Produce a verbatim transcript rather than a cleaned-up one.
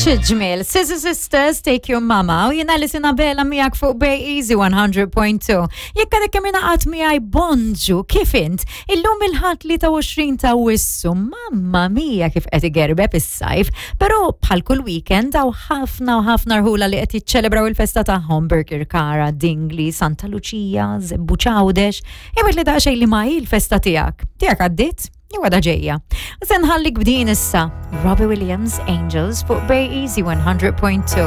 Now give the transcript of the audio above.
Xi ġmiel, Scissor Sisters, Take Your Mama, u jiena Alison Abela miegħek fuq Bay Easy one hundred point two. Jekk għadek kemm ingħaqadt miegħi, bonġu, kif int? Illum il-Ħadd tlieta u għoxrin ta' Awwissu, mamma mia kif qed igerbeb is-sajf, però bħal kull weekend hawn ħafna u ħafna rħula li qed jiċċelebraw il-festa tagħhom: Birkirkara, Dingli, Santa Lucia, Żebbuġ, Għawdex. Imma li daqsxejn li ma hi l-festa tiegħek. Tiegħek għaddiet? Jew għadha ġejja? Se nħallik b'din issa. Robbie Williams, Angels, fuq Bay Easy one hundred point two.